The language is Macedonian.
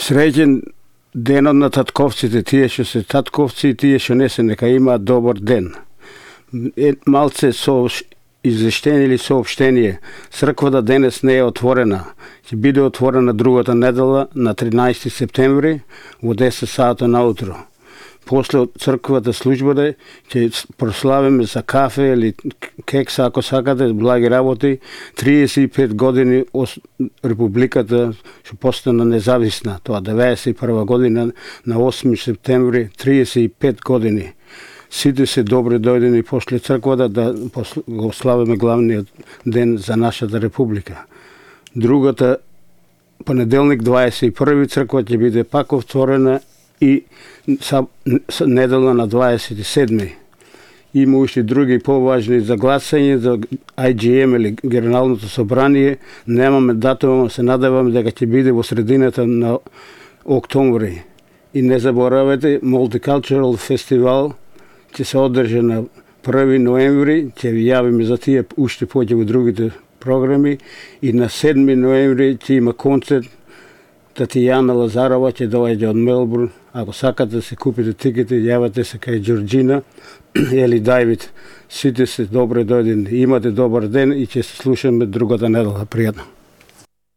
Среќен денот на татковците, тие што се татковци и тие што не се, нека имаат добар ден. Малце извештение или соопштение. Црквата денес не е отворена. Ќе биде отворена другата недела на 13 септември во 10 сата наутро. После црквата службата ќе прославиме за кафе или кекса, ако сакате, благи работи, 35 години Републиката што постана независна. Тоа 91 година на 8 септември, 35 години. Сите се добри дојдени после црквата да го славиме главниот ден за нашата република. Другата понеделник 21 црква ќе биде пак отворена и недела на 27. Има уште други поважни за гласање за IGM или Генералното собрание. Немаме датум, се надеваме дека ќе биде во средината на октомври. И не заборавете, Multicultural Festival ќе се одржи на 1 ноември, ќе ви јавиме за тие уште поќе во другите програми, и на 7 ноември ќе има концерт. Татјана Лазарова ќе доаѓа од Мелбурн. Ако сакате да се купите тикети, јавете се кај Џорџина или Давид. Сите се добре дојдени. Имате добар ден и ќе се слушаме другата недела. Пријатно.